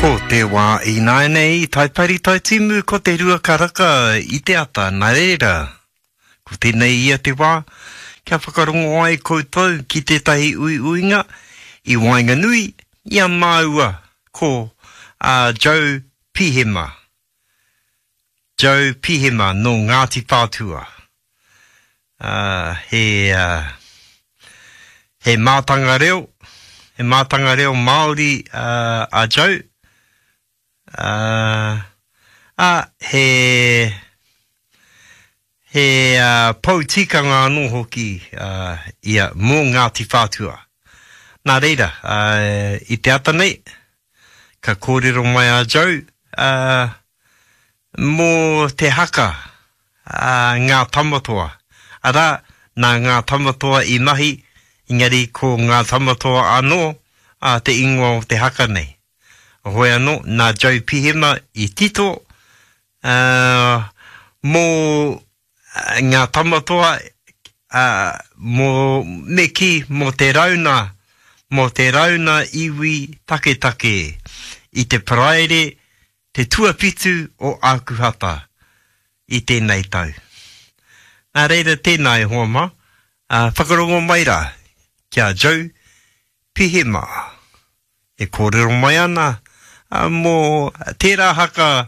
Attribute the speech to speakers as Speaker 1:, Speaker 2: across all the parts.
Speaker 1: Ko te wā ināianei i Taipari Taitimu ko te rua karaka i te ata, nā reira, ko tēnei ia te wā kia whakarongo ai koutou ki tētahi uiuinga i waenganui i a māua ko a Joe Pihema. Joe Pihema nō Ngāti Whātua. He, he mātanga reo, he mātanga reo Māori a Joe. Ā, he, he pou tikanga anō hoki ia mō Ngāti Whātua. Nā reira, i te ata nei, ka kōrero mai a Joe mō te haka a Ngā Tamatoa. Arā, nā Ngā Tamatoa i mahi, engari ko Ngā Tamatoa anō te ingoa o te haka nei. Hoi anō, nā Joe Pihema i tito mō Ngā Tamatoa, ā, mō, me kī, mō te rauna, mō te rauna iwi taketake i te Paraire te tuawhitu o Ākuhata i tēnei tau. Nā reira tēnā e hoa mā, ā, whakarongo mai rā ki a Joe Pihema e kōrero mai ana mō tērā haka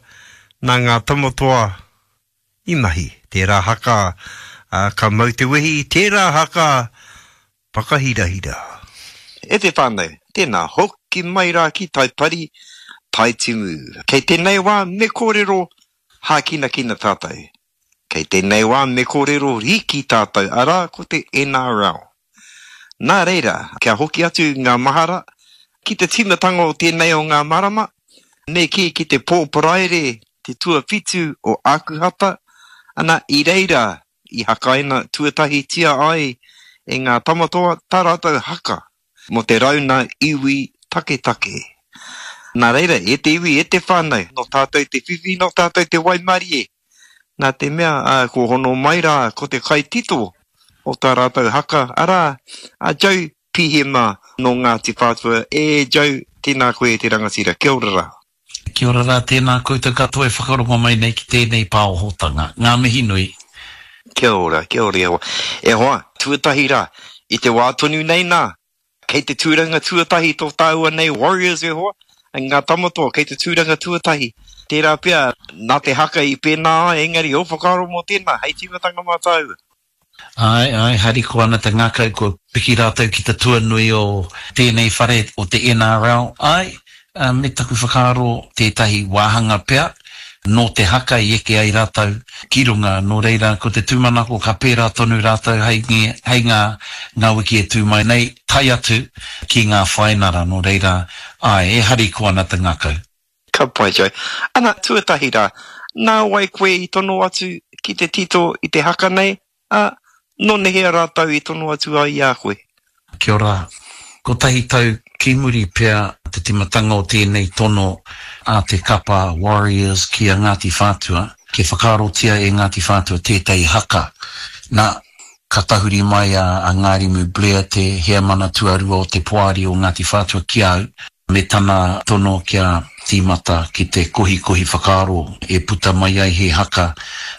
Speaker 1: nā Ngā Tamatoa i mahi. Tērā haka ka mau te wehi, tērā haka whakahirahira. E te whānau, tēnā, hoki mai rā ki Taipari, Taitimu. Kei tēnei wā me kōrero hākinakina tātou. Kei tēnei wā me kōrero rīki tātou, arā, ko te NRL. Nā reira, kia hoki atu ngā mahara ki te tīmatanga o tēnei o ngā marama, me kī ki te pō Paraire te tuawhitu o Ākuhata, ana, i reira i hakaina tuatahitia ai e ngā tamatoa tā rātou haka mō te rauna iwi taketake. Nā reira, e te iwi, e te whānau, nō tātou te whiwhi, nō tātou te waimarie, Nā te mea, ā, kua hono mai rā ko te kaitito o tā rātou haka, arā, a Joe Pihema nō Ngāti Whātua. E Joe, tēnā koe e te rangatira. Kia ora rā.
Speaker 2: Kia ora rā, tēnā koutou katoa e whakarongo mai nei ki tēnei pāohotanga. Ngā mihi nui.
Speaker 1: Kia ora, kia ora e hoa. E hoa, tuatahi rā, i te wā tonu nei nā, Kei te tūranga tuatahi tō tāua nei Warriors e hoa, ngā tamatoa kei te tūranga tuatahi. Tērā pea, nā te haka i pēnā ai, engari ō whakaaro mō tēnā, hei tīmatanga mā tāua.
Speaker 2: Āe, āe, harikoa ana te ngākau kua piki rātou ki te tuanui o tēnei whare o te NRL. Āe, me taku whakaaro tētahi wāhanga pea nō te haka i eke ai rātou ki runga, nō reira ko te tūmanako ka pērā tonu rātou hei hei ngā ngā wiki e tū mai nei, tae atu ki ngā whainara, nō reira, āe, e harikoa ana te ngākau.
Speaker 1: Ka pai, Joe. Ana, tuatahi rā, nā wai koe i tono atu ki te tito i te haka nei? Ā, nō nehea rātou i tono atu ai i a koe?
Speaker 2: Kia ora. Kotahi tau ki muri pea te timatanga o tēnei tono a te kapa Warriors ki a Ngāti Whātua, kia whakaarotia e Ngāti Whātua tētahi haka. Nā, ka tahuri mai a Ngārimu Blair, te heamana tuarua o te poari o Ngāti Whātua ki a au, me tana tono kia tīmata ki te kohikohi whakaaro e puta mai ai he haka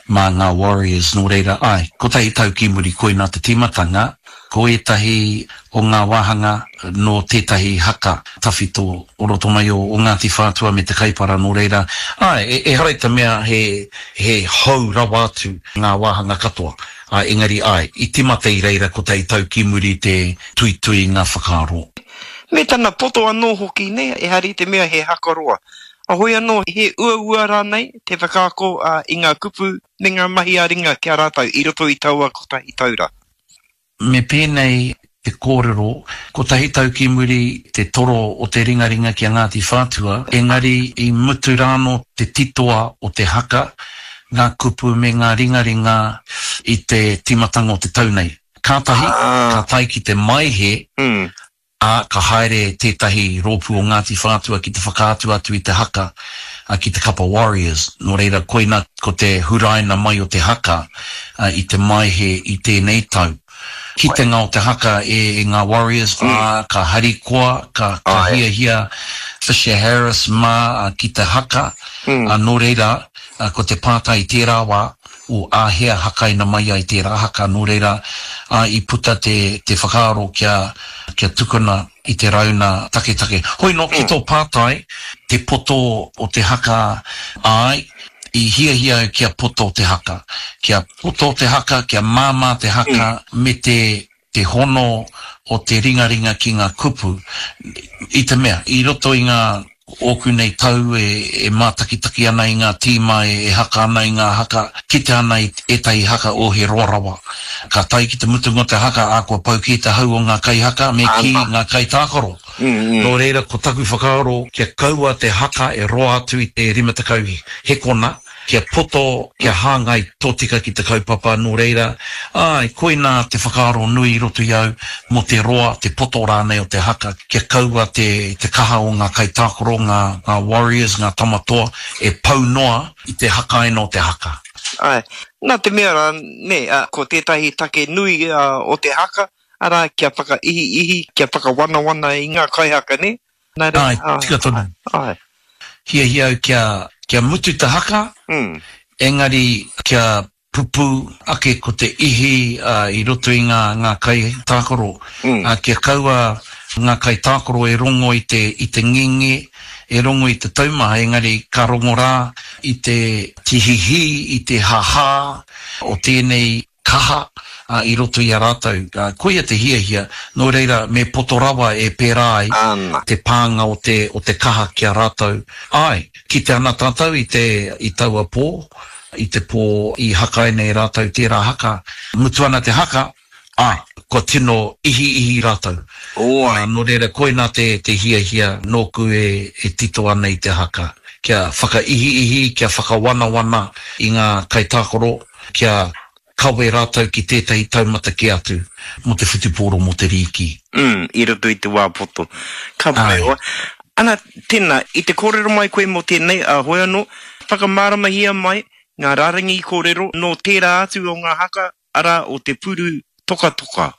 Speaker 2: mā ngā Warriors, nō reira, āe, kotahi tau ki muri koinā te tīmatanga, ko ētahi o ngā wāhanga nō tētahi haka tawhito o roto mai o Ngāti Whātua me Te Kaipara, nō reira, āe, ehara i te mea he, he hou rawa atu ngā wāhanga katoa, āe, engari, āe, i tīmata i reira kotahi tau ki muri te tuitui ngā whakaaro.
Speaker 1: Me tana poto anō hoki, nē, ehara i te mea he haka roa. Heoi anō, he uaua rānei te whakaako i ngā kupu me ngā mahi ā-ringa ki a rātou i roto i taua kotahi tau rā?
Speaker 2: Me pēnei te kōrero, kotahi tau ki muri te toro o te ringaringa ki a Ngāti Whātua, engari i mutu rānō te titoa o te haka, ngā kupu me ngā ringaringa i te tīmatanga o te tau nei. Kātahi, ka tae ki te Maehe, ā, ka haere tētahi rōpū o Ngāti Whātua ki te whakaatu atu i te haka ki te kapa Warriors. Nō reira, koina ko te huraina mai o te haka i te Maehe i tēnei tau. Kitenga o te haka e ngā Warriors, ā, ka harikoa, ka hiahia Fisher Harris mā ki te haka, nō reira, ko te pātai i tērā wā, o āhea hakaina mai ai tērā haka, nō reira, i puta te, te whakaaro kia, kia tukuna i te rauna taketake. Hoi nō, ki tō pātai, te poto o te haka, āe, i hiahia au kia poto te haka. Kia poto te haka, kia māmā te haka, me te te hono o te ringaringa ki ngā kupu, i te mea, i roto i ngā ōku nei tau e mātakitaki ana i ngā tīma e haka ana i ngā haka, kite ana i ētahi haka o he roa rawa. Ka tae ki te mutunga o te haka, ā, kua pau kē te hau o ngā kaihaka, me kī, ngā kaitākaro. Nō reira, ko taku whakaaro kia kaua te haka e roa atu i te 50 hekona, kia poto, kia hāngai tōtika ki te kaupapa, nō reira, āe, koinā te whakaaro nui i roto i au mō te roa, te poto rānei o te haka, kia kaua te, te kaha o ngā kaitākaro, ngā, ngā Warriors, ngā tama toa, e pau noa i te hakaina o te haka.
Speaker 1: Āe, nā te mea rā, nē, ko tētahi take nui o te haka, arā, kia whakaihiihi, kia whakawanawana i ngā kaihaka, nē?
Speaker 2: Nā reira, Āe, tika tonu. Āe. Hiahia au kia, kia mutu te haka, engari kia pupū ake ko te ihi i roto i ngā, ngā kaitākaro, kia kaua ngā kaitākaro e rongo i te, i te ngenge, e rongo i te taumaha, engari ka rongo rā i te tihihī, i te hahā o tēnei kaha i roto i a rātou. Koia te hiahia, nō reira me poto rawa e pērā ai te pānga o te, o te kaha ki a rātou. Āe, kite ana tātou i te, i taua pō, i te pō i hakaina e rātou tērā haka. Mutu ana te haka, āe, kua tino ihiihi rātou. Nō reira, koinā te, te hiahia nōku e, e tito ana i te haka. Kia whakaihiihi, kia whakawanawana i ngā kaitākaro, kia kawe rātou ki tētahi taumata kē atu mō te whutupōro, mō te rīki.
Speaker 1: Mm, i roto i te wā poto. Ka pai hoa. Ana, tēnā, i te kōrero mai koe mō tēnei, ā, hoi anō, whakamāramahia mai ngā rārangi kōrero nō tērā atu o ngā haka, arā, o te puru tokatoka.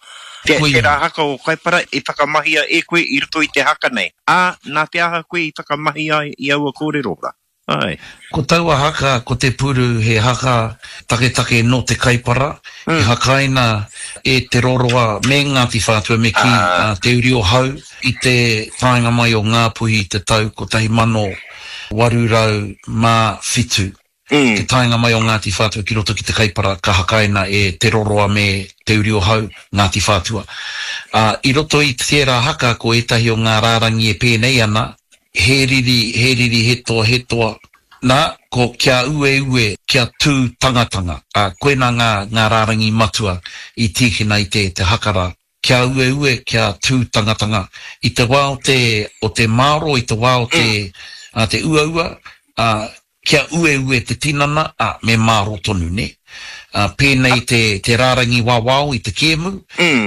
Speaker 1: Te, tērā haka o Kaipara i whakamahia e koe i roto i te haka nei, ā, nā te aha koe i whakamahi ai i aua kōrero rā?
Speaker 2: Āe. Ko taua haka, ko Te Puru, he haka taketake nō te Kaipara, i hakaina e Te Roroa me Ngāti Whātua me kī, Te Uri o Hau, i te taenga mai o Ngāpuhi i te tau 1807. Te taenga mai o Ngāti Whātua ki roto ki te Kaipara ka hakaina e Te Roroa me Te Uri o Hau, Ngāti Whātua. I roto i tērā haka ko ētahi o ngā rārangi e pēnei ana, He riri, he riri, he toa, he toa. Nā, ko kia ueue, kia tū tangatanga. Ā, koinā ngā, ngā rārangi matua i tīkina i te, te haka rā. Kia ueue, kia tū tangatanga. I te wā o te, o te māro, i te wā o te, ā, te uaua, ā, Kia ueue te tinana, ā, me mārō tonu, nē? Ā, pēnei te, te rārangi wawao i te kēmu,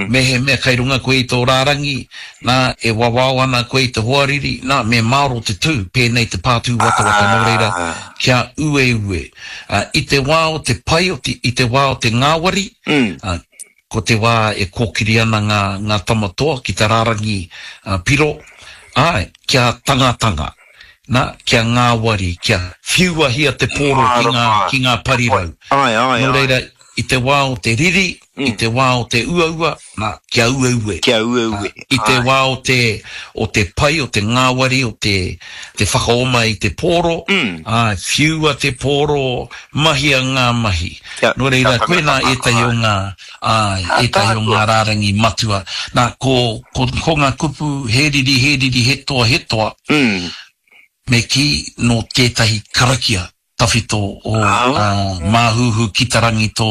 Speaker 2: mehemea kei runga koe i tō rārangi, nā, e wawao ana koe i te hoariri, nā, me mārō te tū, pēnei te pātūwatawata, nō reira, kia ueue. Ā, i te wā o te pai, o te, i te wā o te ngāwari, ā, Ko te wā e kōkiri ana ngā, ngā tama toa ki te rārangi piro, āe, kia tangatanga, nā, kia ngāwari, kia whiuahia te pōro ki ngā, ki ngā parirau.
Speaker 1: Āe, āe,
Speaker 2: Nō reira, i te wā o te riri, i te wā o te uaua, nā, kia ueue.
Speaker 1: Kia ueue,
Speaker 2: I te wā o te, o te pai, o te ngāwari, o te, te whakaoma i te pōro, āe, whiua te pōro, mahia ngā mahi.
Speaker 1: Kia,
Speaker 2: Nō reira,
Speaker 1: kia
Speaker 2: koinā
Speaker 1: tangatanga,
Speaker 2: ētahi o
Speaker 1: āe.
Speaker 2: ngā, āe, ētahi o
Speaker 1: Ātaahua.
Speaker 2: ngā rārangi matua. Nā, ko, ko, ko ngā kupu he riri, he riri, he toa, he toa, me kī, nō tētahi karakia tawhito o, ā, Māhuhu ki te rangi tō,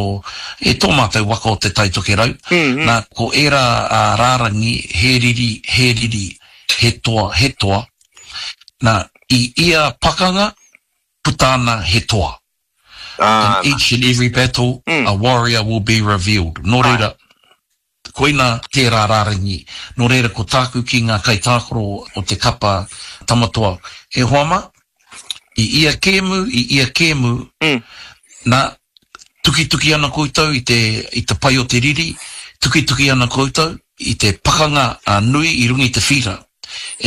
Speaker 2: e tō mātou waka o Te Tai Tokerau. Nā, ko ērā, ā, rārangi, he riri, he riri, he toa, he toa. Nā, i ia pakanga, puta ana he toa. In each and every battle, a warrior will be revealed. Nō reira, koina tērā rārangi. Nō reira, ko tāku ki ngā kaitākaro o te kapa Tamatoa, e hoa mā, i ia kēmu, i ia kēmu, nā, tukituki ana koutou i te, i te pai o te riri, tukituki ana koutou i te pakanga nui i runga i te whīra.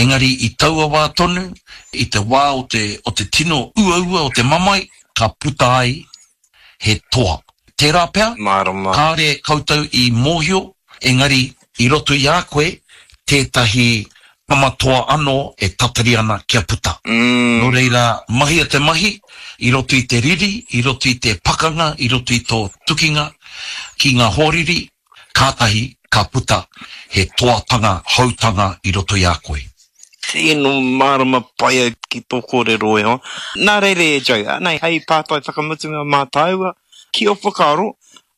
Speaker 2: Engari i taua wā tonu, i te wā o te, o te tino uaua o te mamae, ka puta ai he toa. Tērā pea,
Speaker 1: Mārama.
Speaker 2: kāre koutou i mōhio, engari i roto i a koe tētahi tama toa anō e tatari ana kia puta. Nō reira, mahia te mahi i roto i te riri, i roto i te pakanga, i roto i tō tukinga ki ngā hoariri, kātahi ka puta he toatanga houtanga i roto i a koe.
Speaker 1: Tino mārama pai au ki tō kōrero e hoa. Nā reira e Joe, anei hei pātai whakamutunga mā tāua, ki ō whakaaro,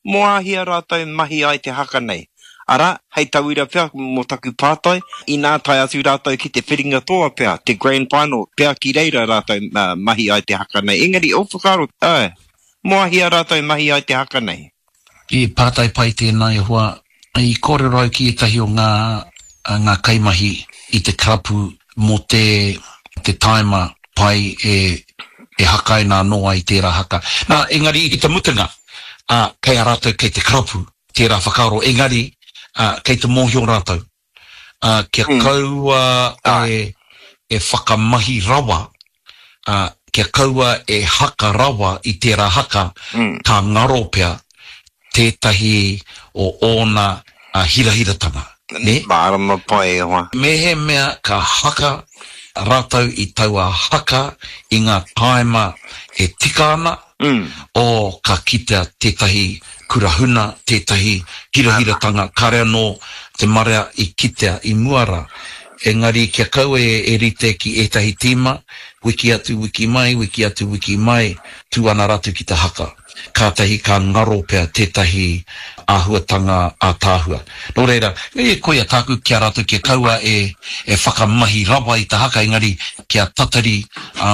Speaker 1: mō āhea rātou mahi ai te haka nei? Arā, hei tauira pea mō taku pātai, inā tae atu rātou ki te whiringa toa pea, te grand final, pea ki reira rātou mahi ai te haka nei. Engari, ō whakaaro, āe, mō āhea rātou mahi ai te haka nei?
Speaker 2: He pātai pai tēnā e hoa. I kōrero au ki ētahi o ngā ngā kaimahi i te karapu mō te te tāima pai e e hakaina anō ai tērā haka. Nā, engari i te mutunga, ā, kei a rātou kei te karapu tērā whakaaro, engari, ā, kei te mōhio rātou. ā, kia kaua e, e whakamahi rawa, ā, kia kaua e haka rawa i tērā haka, ka ngaro pea tētahi o ōna hirahiratanga, nē?
Speaker 1: Mārama pai e hoa.
Speaker 2: Mehemea ka haka rātou i taua haka i ngā tāima e tika ana, O, ka kitea tētahi kura huna, tētahi hirahiratanga, kāre anō te marea i kitea i mua rā. Engari kia kaua e rite ki ētahi tīma, wiki atu, wiki mai, wiki atu, wiki mai, tū ana rātou ki te haka. Kātahi ka ngaro pea tētahi āhuatanga ātaahua. Nō reira, e koia tāku ki a rātou kia kaua e e whakamahi rawa i te haka engari kia tatari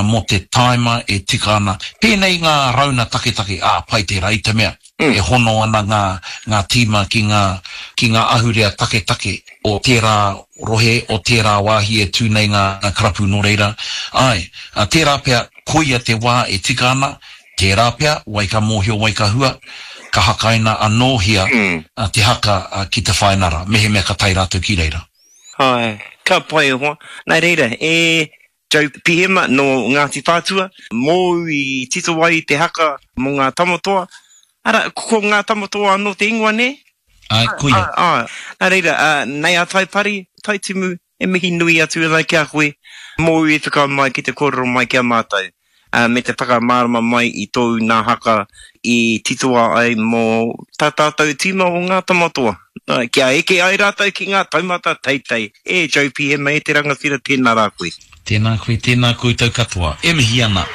Speaker 2: mō te tāima e tika ana. Pēnei ngā rauna taketake, ā, pai tērā i te mea e hono ana ngā ngā tīma ki ngā ki ngā ahurea taketake o tērā rohe, o tērā wāhi e tū nei ngā karapu nō reira, āe, tērā pea koia te wā e tika ana Tērā pea, wai ka mōhio, wai ka hua, ka hakaina anōhia te haka ki te whainara, mehemea ka tae rātou ki reira.
Speaker 1: Āe, ka pai e hoa. Nā reira, e Joe Pihema nō Ngāti Whātua, mōu i tito ai te haka mō ngā tamatoa. Arā, ko ngā tamatoa anō te ingoa, nē?
Speaker 2: Āe, koia.
Speaker 1: Āe, nā reira, nei a Taipari, Taitimu, E mihi nui atu ana ki a koe, mōu i whakaae mai ki te kōrero mai ki a mātou, ā, me te whakamārama mai i tōu nā haka i titoa ai mō tā tātou tīma o Ngā Tamatoa, kia eke ai rātou ki ngā taumata teitei. E Joe Pihema, e te rangatira, tēnā rā koe.
Speaker 2: Tēnā koe, tēnā koutou katoa. E mihi ana.